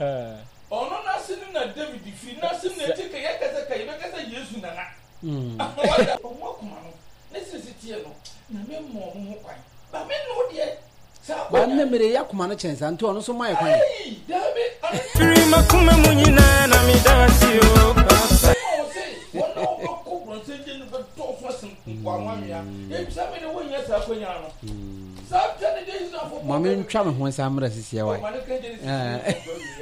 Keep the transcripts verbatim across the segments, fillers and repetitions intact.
Ɔno n'ase no na David firi, n'ase no na eti ka yɛka sɛ ka yɛbɛka sɛ Yesu nana. Wada ɔmo akoma no ne sisi teɛ no, Nyame mma ɔmo ho kwan. Ba me ne wo deɛ, saa Ba akɔnya. nnɛ mmerɛ yi akoma no kyɛn saa nti ɔno nso ma yɛ kwan. Ei, daabi, ɔno Firi makoma mu nyinaa na meda ase o papa. Ma wo se wɔn a wɔbɛkɔ borɔnsam gye no bɛdɔɔso asen mpoano anwea. Ebisa me de wonnya saa akɔnya no. Saa tɛ ne deɛ Israelfoɔ Ma kɔɔ me baabi. ntwa me ho nsa mmerɛ sisiɛ Oh, wae. ma ne ka Genesis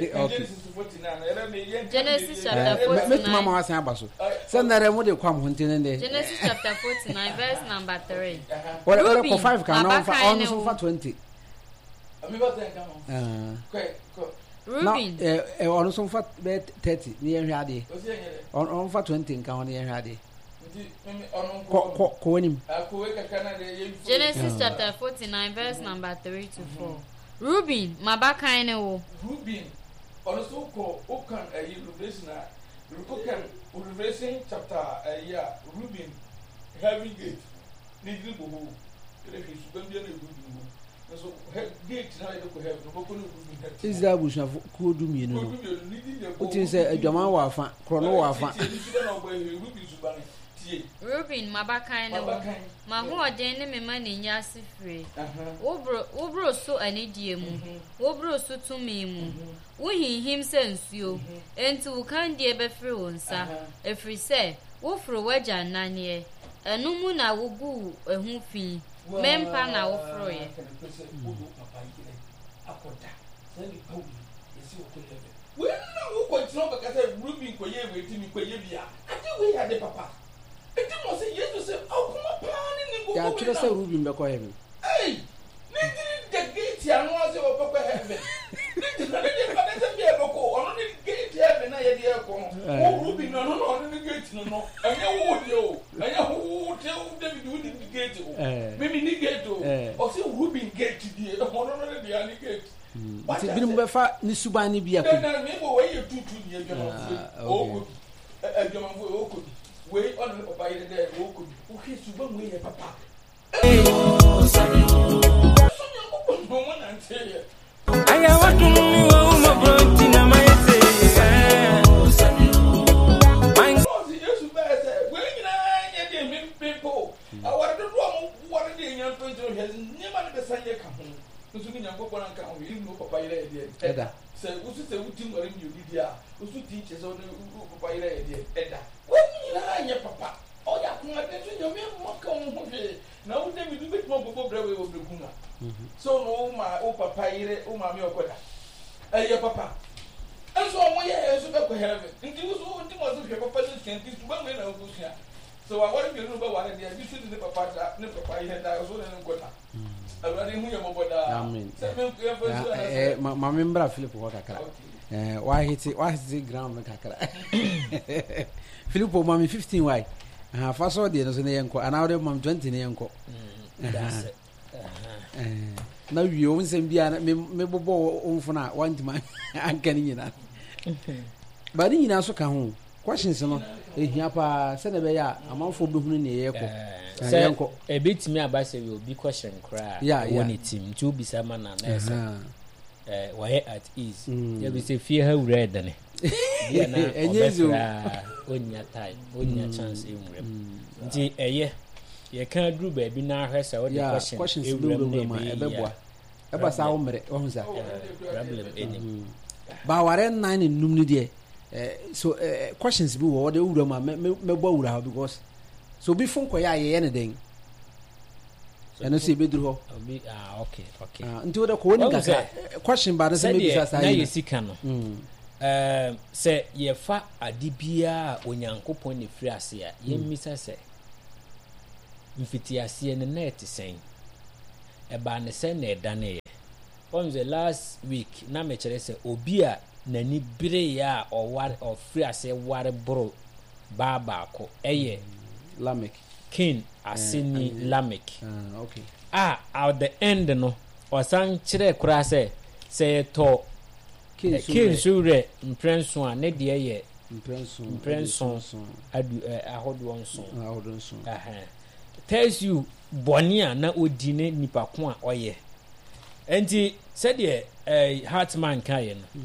Eh, no okay. Genesis forty-nine. Ɛrɛ me yɛn ka Genesis me chapter Eh, mɛ- mɛtumi ama forty-nine. wasan aba so. Sɛ nnɛrɛ mo de kɔ am ho nti ne deɛ. Genesis chapter forty-nine, verse number three. Wɔde wɔde kɔ Reuben, five kan na ɔmfa m'abakan ɔno ne nso wo. mfa twenty. Mi ba sɛ nka ho. Ah. Kɔ kɔ. Na Reuben, ɛ ɛ ɔno nso mfa bɛyɛ thirty ne yɛn hwɛ adeɛ. Osi yɛn yɛ dɛ. Ɔno ɔmfa twenty nka ho ne yɛn hwɛ adeɛ. Nti mímí ɔno nko. Kɔ kɔ kɔ w'anim. Akowe kakra na de yɛ. Genesis Ah. chapter forty-nine, verse number three to four. Reuben, m'abakan ne wo. Reuben, ɔno nso kɔ okan ɛyi Revelation a, okan Revelation chapter ɛyi a, Reuben heaven gate ne gyina bɔ hɔ. Ɛna hwɛ suban bi na Reuben wɔ. Nso he gate na yɛde kɔ heaven, ɔbɛkɔ ne Reuben heaven. Israel abusuafo kuo du mmienu no. Kuo du mmienu ne din na ɛbɔ Wotim sɛ adwaman wɔ afa, korɔno wɔ afa. Tie ne suban na ɔbɔ ɛhɛ Reuben suban tie. Reuben, m'abakan ne wo. M'abakan. M'ahoɔden ne me ma ne nya ase fire. Aha. Woboro woboro so anidie mu. Woboro so tumi mu. Wohinhim sɛ nsuo. Enti wo kandie bɛfiri wo nsa. Ɛfiri sɛ, woforo w'agya nnaneɛ. Ɛno mu na woguu ɛho fi. Mempa na woforoeɛ. Akɔda saa nipa wei yɛsi wɔkɔ heaven wei na wokɔ kyerɛ wobɛka sɛ Ruben kɔyɛ wei ti mi kɔyɛ bi a ade wei yɛ ade papa enti mo sɛ Yesu sɛ ɔkoma paa ne ne nkokɔ wei Yɛatwerɛ na sɛ Reuben bɛkɔ heaven. Ei, ne ntiri da gate ano ase wɔbɛkɔ heaven ne gyina ne deɛ fada sɛ bi a ɛbɛkɔ ɔno ne gate heaven a yɛde ɛkɔ no. Eh. Wo Ruben no, ɔno na ɔno ne gate no no ɛnyɛ wo deɛ o, ɛnyɛ wo te wo David wo ne gate o. Eh. Mimi ne gate o. Eh. Ɔsɛ Ruben gate die, ɔno no ne deɛ ne gate. Nti binom bɛfa ne suban ne bi akɔ. Dɛn na mi bɔ wei yɛ tutu ni adwamanfo yi. Ah, okay. Ɔkɔ bi ɛ adwamanfo yi ɔkɔ bi wei, ɔne ne papa yere dɛ ɔkɔ bi, wohwɛ suban wei yɛ papa so Nyankopɔn na ɔmo nante yɛ. Aya wadum ni wa umabro nti na mayɛ sɛ. Ɔsi Yesu bɛyɛ sɛ wei nyinaa nyɛ deɛ mempempo aware dodoɔ a mo ware deɛ nya mpɛnti no, hwɛ nneɛma no bɛsan yɛ ka ho nso ne Nyankopɔn anka ho yɛ ne wo papa yerɛ yɛ deɛ. Ɛda. Sɛ wosu sɛ woti nware mmienu deɛ a, wosu ti kyerɛ sɛ wode wo papa yerɛ yɛ deɛ ɛda. Wɔn nyinaa nyɛ papa, ɔyɛ akomaden so Nyame mma ka wo ho hwee na wo David wobɛtumi akɔbɔ brɛ wei wɔ berɛkum a sɛ wo ne wo ma wo papa yere wo maame ɔkɔda ɛyɛ papa nso ɔmo yɛ yɛ nso bɛkɔ heaven. Nti wo so nti mo so hwɛ papa no sua nti suban wei na wokɔsua sɛ waware mmienu no bɛware deɛ bi so de ne papa da ne papa yere da so ne ne nkɔda. Awurade hu yɛ mmɔbɔ daa. Amen. Sɛ me yɛmfa nsu Eh, anasɛ eh, ma ma me mbra Philip hɔ kakra. Okay. Eh, wahete wahete ground no kakra. Philip, ma me fifteen wae. Aha, fa so deɛ no so ne yɛnkɔ anaa wode ma me twenty ne yɛnkɔ. Dasɛ. Eh, na wie wo nsɛm biara na me mebobɔ wo mfono a wantumi anka ne nyinaa ba ne nyinaa so ka ho. Questions no ɛhia paa sɛne ɛbɛyɛ a amanfoɔ bɛhunu neɛ yɛkɔ. Eh, sɛ yɛnkɔ. Ɛbɛtumi aba sɛ yɛ obi question koraa Yeah, ɛwɔ yeah. ne tim nti wobisa ma na na ɛsɛ Aha. eh, wɔyɛ at ease. Mm. Yɛbi sɛ fie ha wura ɛdene bia na Ɛnyɛ easy o. ɔbɛfrɛ a ɔnnya time, ɔnnya chance nwura mu nti ɛyɛ yɛka duru baabi na ahwɛ sɛ wode Yeah, question questions ewura mu bɛwurawura na mu a ɛbɛyɛ yie ɛbɛboa a, ɛba saa wo mmerɛ wahu sa. eh, problem ɛnim. Baaware nnan ne num no deɛ, eh, so eh, questions bi wɔ hɔ de wura mu a mɛ- mɛ- mɛbɔ awura hɔ because so obi fo nkɔyɛ a yɛyɛ ne den ɛno nso yɛbɛduru hɔ. Obi ah, okay okay Ah, nti wode kɔ wɔnim Wahu kakra. sɛ- Eh, question ba no sɛ mɛbisa sɛdeɛ saa na yi yɛ sika no, Mm. ɛɛm, sɛ yɛfa ade biara a Onyankopɔn ne firi ase a, yɛmmisa sɛ mfitiaseɛ no na ɛte sɛn, ɛbaa ne sɛn na ɛdaneeɛ. Wɔn sɛ last week na mekyerɛ sɛ obi a n'ani bereeɛ a ɔware ɔfiri aseɛ ware boro baa baako ɛyɛ Lamek. Cain aseni. Eh, Lamek. Ah, okay. A at the end no ɔsan kyerɛ koraa sɛ sɛ yɛtɔ Cain so Cain werɛ. So werɛ mprɛnson a ne deɛ yɛ mprɛnson. Mprɛnson. Aduoson. Adu ɛ ahodoɔ nson. Ahodoɔ nson. Ɛhɛn. Tells you bɔne a na ɔdi ne nipa ko a ɔyɛ. Nti sɛdeɛ ɛɛ Hartman kaeɛ no,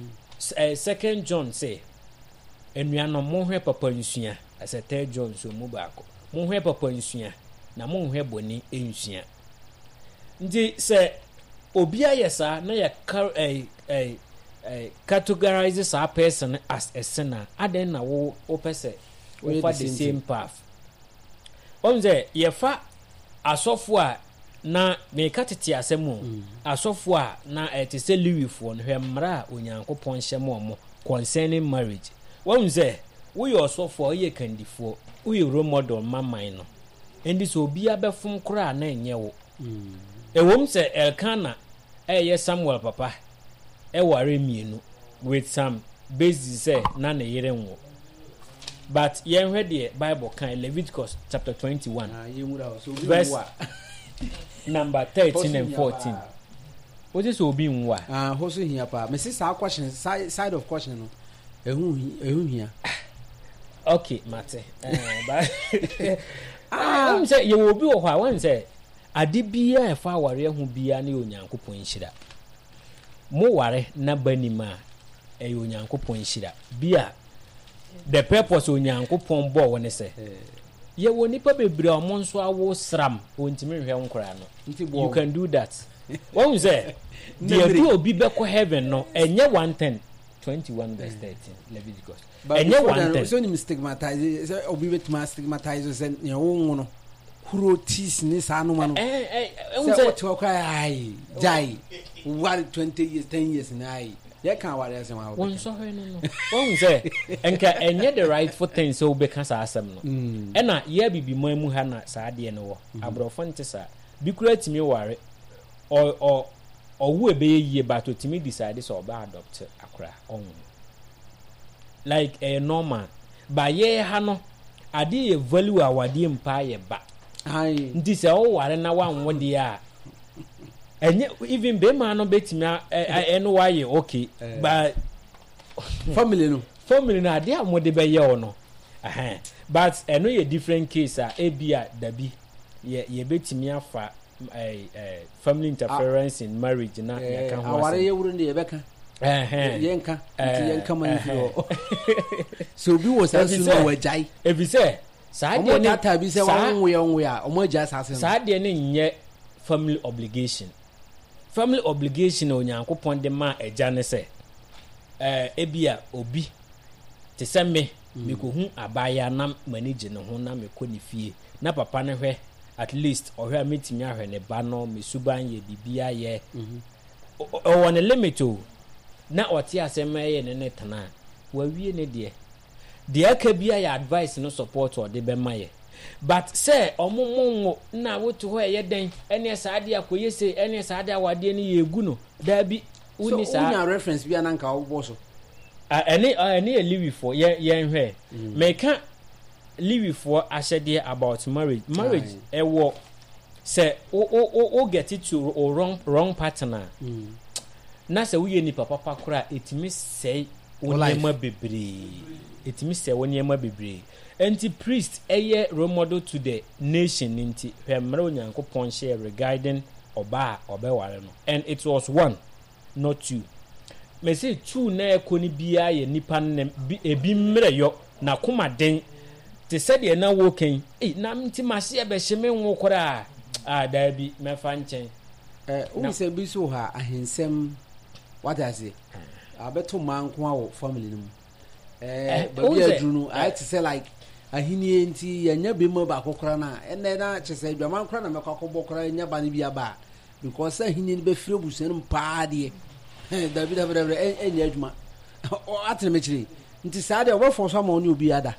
Eh, Second John sɛ, anuanom, monhwɛ papa nsua. Ɛsɛ Third John nso mu baako, monhwɛ papa nsua na monhwɛ bɔne nsua. Nti sɛ obi ayɛ saa na yɛ ɛ ɛ ɛ categorize saa person as a sinner, adɛn na wo wopɛ sɛ wofa the same path? Wɔn sɛ yɛfa asɔfo a, na meka tete asɛm o, mm. asɔfo a na ɛte sɛ Lewifoɔ no, hwɛ mmara a Onyankopɔn hyɛ ma ɔmo concerning marriage. Wɔn sɛ woyɛ ɔsɔfo a, woyɛ kandifoɔ, woyɛ role model ma man no, nti sɛ obiara bɛfom koraa na ɛnyɛ wo. Ɛwom sɛ Elkana ɛyɛ Samuel papa ɛware mmienu with some basis sɛ na ne yere nwo, but yɛnhwɛ deɛ Bible kan, Leviticus chapter twenty-one Ah, yɛnwura hɔ. So obi verse nwo a. number thirteen and fourteen. Wote sɛ obi nwo a, Ah, hɔ so hia paa. Mesi saa question, side side of question no, ɛho hi- ɛho hia. Okay, mate. Eh, but ah, wonim sɛ yɛwɔ obi wɔ hɔ a, wɔn sɛ ade biara a ɛfa awareɛ ho biara ne yɛ Onyankopɔn nhyira. Mo ware na ba nim a, ɛyɛ Onyankopɔn nhyira bi a the purpose Onyankopɔn bɔɔ wo ne sɛ yɛwɔ nipa bebree a ɔmo nso awo sram, wɔntumi nhwɛ nkoraa no. Nti you boɔ. Can do that. Wɔn sɛ deɛ bi obi bɛkɔ heaven no, ɛnyɛ one ten twenty one verse thirteen Leviticus. But ɛnyɛ before one then, ten. sɛ onim stigmatize, sɛ obi bɛtumi stigmatize sɛ nea wo no kuro teas ne saa noma no. ɛɛ ɛɛ ɛhu sɛ sɛ wote hɔ koraa, ayi gyae ware twenty years, ten years na ayi yɛka aware asɛm a wɔn wobɛka. Nsɔhwɛ no no wɔn sɛ nka ɛnyɛ the rightful thing sɛ wobɛka saa asɛm no. Mm. Ɛna yɛ bibiman mu ha na saa adeɛ no wɔ. Aborɔfo nte saa bi kura tumi ware ɔ ɔ ɔwo ɛbɛyɛ yie, but otumi decide sɛ ɔbɛ adopt akora ɔnwo, like ɛyɛ normal. But yɛ ha no, adeɛ yɛ value a awadeɛ mpa yɛ ba. Ayi. Nti sɛ ɔware na wanwo deɛ a, ɛnyɛ even bɛrima no bɛtumi a- ɛ- ɛ- ɛno wayɛ okay. Eh. But family no. Family no, adeɛ a wɔde bɛyɛ wo no ɛhɛn, but ɛno yɛ different case a ebi a dabi yɛ yɛbɛtumi afa ɛɛ ɛɛ family interference in marriage na Eh, yɛka ho aware asɛm. yɛ wuro no deɛ, yɛbɛka. Ɛhɛn. Yɛnka nti Eh, yɛnka ma no firi ɛhɛn. hɔ sɛ obi wɔ saa Ɛfiri su no a sɛ- wagyae. Efi sɛ saa ɔmo deɛ ne taataa bi sɛ saa wɔnwoyɛ ɔnwoyɛ a, ɔmo agyae saa asɛm no. Saa deɛ ne nyɛ family obligation. Family obligation a Onyankopɔn de maa agya ne sɛ ɛɛ ebi a obi te sɛ me, mekohu abaayewa na m'ani gye ne ho na mekɔ ne fie na papa no hwɛ, at least ɔhwɛ a metumi ahwɛ ne ba no, me suban yɛ biribi ayɛ. Ɔ- ɔ- ɔwɔ ne limit o, na ɔte asɛm ɛyɛ ne ne tena a wawie ne deɛ deɛ aka bi ayɛ advice no, support a ɔde bɛma yɛ. But sɛ ɔmo mo nwo na wote hɔ, ɛyɛ dɛn? Ɛne saa adeɛ akɔyɛ se, ɛne saa adeɛ awadeɛ no yɛ egu no, daabi. So wonni saa. Wonya reference bi a na nka wobɔ so. Ah, ɛne ah, ɛne yɛ Lewifoɔ. Yɛn yɛnhwɛ, mɛka Lewifoɔ ahyɛdeɛ about marriage. Marriage ɛwɔ sɛ wo wo wo wo get it to o wrong wrong partner na sɛ woyɛ nipa papa koraa, ɛtumi sɛe wo Wo life. nneɛma bebree, ɛtumi sɛe wo nneɛma bebree. Nti priest ɛyɛ role model to the nation ne nti hwɛ mmerɛ Onyankopɔn hyɛɛ regarding ɔbaa a ɔbɛware no, and it was one, not two. Mɛsɛ two na ɛkɔ no biara yɛ nipa no ne bi, ebi mmerɛ yɔ n'akoma den te sɛdeɛ na wɔkɛn ei na nti mahye ɛbɛhye me nwo koraa a, daabi, mɛfa nkyɛn. Eh, wohu Na- sɛ bi so wɔ ha ahensɛm, wate ase, abɛto mmaa nko a wɔ family no mu. Eh, Eh, baabi wohu a sɛ- aduru no ayɛ te sɛ like ahennie nti yɛnya bi mu baako koraa no a, ɛnɛ na kyɛ sɛ adwaman koraa na mɛkɔ akɔbɔ koraa nya ba no bi aba a, because sɛ ahennie no bɛfiri abusua no mu paa deɛ, dabi dabi dabi, ɛ- ɛnyɛ adwuma. Atene mekyerɛ nti saa deɛ wɔbɛfɔ so ama wo ne obi ada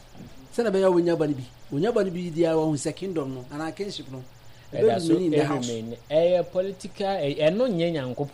sɛnɛ ɛbɛyɛ a wɔnya ba no bi, wɔnya ba no bi deɛ, wɔhu sɛ kingdom no anaa kingship no ɛda so ɛbɛ remain in the house. Ɛremain, ɛyɛ political, ɛ- ɛno nyɛ Nyankopɔn.